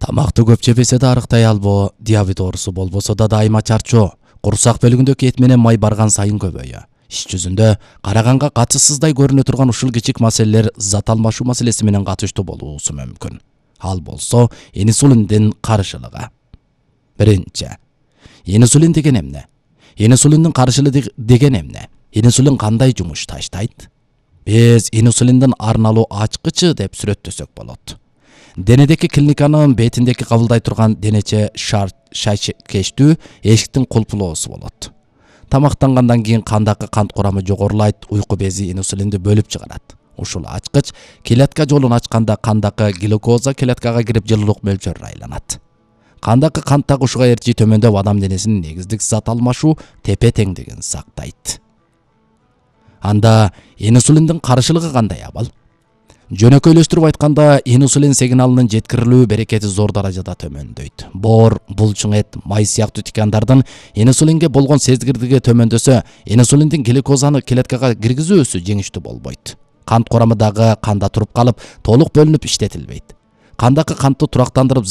Тамакты көп жебесе да арыктай албоо, диабет оорусу болбосо да дайыма чарчоо, курсак бөлүгүндөгү эт менен май барган сайын көбөйө. Иш жүзүндө караганга катышсыздай көрүнө турган ушул кичик маселелер зат алмашуу маселеси менен катыштуу болуусу мүмкүн. Ал болсо инсулиндин карышылыгы. Биринчи, инсулин деген эмне? Инсулиндин карышылыгы деген эмне? Инсулин кандай жумуш таштайт? Биз инсулиндин арналуу ачкычы деп сүрөттөсөк болот. Денедеки клиниканын бетиндеки кабылдай турган денече шайкечтүү эшиктин кулпулоосу болот. Тамактангандан кийин кандагы кант курамы жогорулайт, уйку бези инсулинди бөлүп чыгарат. Ушул ачкыч клетка жолун ачканда кандагы глюкоза клеткага кирип жылуулук мөлчөрү айланат. Кандагы кант тагышууга эрчи төмөндөп адам денесинин негиздик зат алмашуу тепе-теңдигин сактайт. Анда инсулиндин карышылыгы кандай абал? Жөнөкөйлөштүрүп айтканда, инсулин сигналынын жеткирилүү берекети зор даражада төмөндөйт. Боор, булчуң эт, май сыяктуу ткандардын инсулинге болгон сезгирлиги төмөндөсө, инсулиндин глюкозаны клеткага киргизүүсү жеңиштүү болбойт. Кант курамы дагы канда туруп калып, толук бөлүнүп иштетилбейт. Кандагы кантты турактандырып